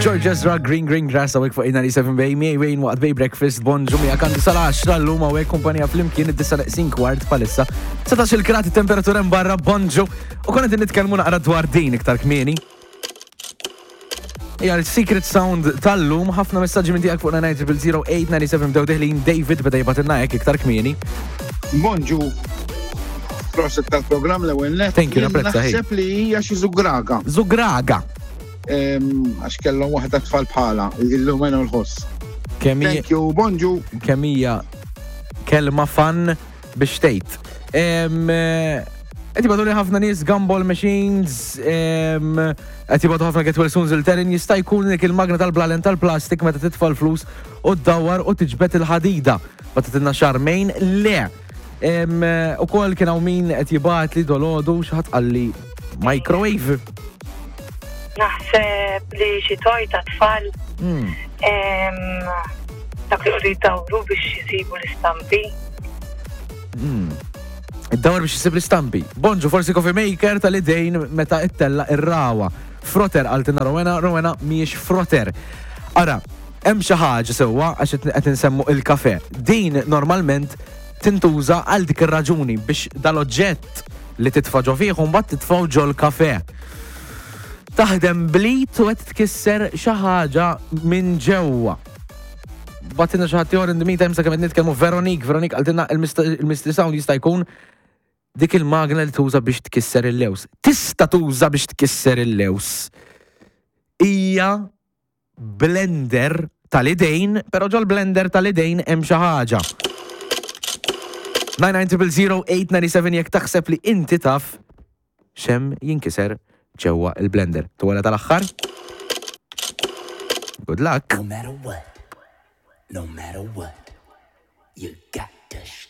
George Ezra, Green Green Grass, għawek fuq 97 Bay, miej Wayne waqt Bay Breakfast, bonġu mija kandu sal-10 l-lum għawek kumpanija fl-imkien id-disa neqsin kwart palissa. 19 il-grad temperatura barra bonġu u konna din nitkellmu naqra dwar din iktar kmieni. Hija l-secret sound tal-lum, ħafna messaġġi minn tiegħek fuq 9000897 bdew deħlin David beda jibatilna hekk iktar kmieni. Bonġu. Proset tal-programm l-ewwel net. Thank you, napprezza, hey. Naħseb li hija xi żugraga. Zugraga. Għax kellhom waħda tfal bħala, illum għenu l-ħoss. Kemm hija Thank you, bonġu. kemm hija kelma fan biex tgħid. Em, eh, Qed jibgħatu li ħafna nies gumball machines, em, qed jibgħatu ħafna get well soon zilterin jista' jkun dik il-magna tal-blalen tal-plastik meta titfa' l-flus u ddawwar u tiġbed il-ħadida. Bagħtitilna Charmaine le. Em, eh, Ukoll kien hawn min qed jibgħat li dolodu xi ħadd qalli microwave. Naħseb li xi toj ta' tfal em, dak li jqogħdu jdawru biex jisibu l-istampi. Id-dawar biex jisib l-istampi. Bonġu, forsi coffee maker tal-idejn meta ittella ir-rawa. Froter għaltina Rowena, Rowena miex froter. Ara, hemm xi ħaġa sewwa għax qed qed insemmu il-kafe. Din normalment tintuża għal dik ir-raġuni biex dal-oġġett li titfa' ġo fih u mbagħad titfgħu ġol-kafe. Taħdem blit u qed tkisser xi ħaġa minn ġewwa. Batina xi ħadd ieħor in the meantime sakemm qed nitkellmu Veronique, Veronique qaltilna il-mystery sound jista' jkun dik il-magna li tuża biex tkisser il-lews. Tista' tuża biex tkisser il-lews. Hija blender tal-idejn, però ġol-blender tal-idejn hemm xi ħaġa. 9900897 jekk taħseb li inti taf xem jinkiser ġewwa il-blender. Tuwala tal-aħħar? Good luck. No matter what, no matter what, you.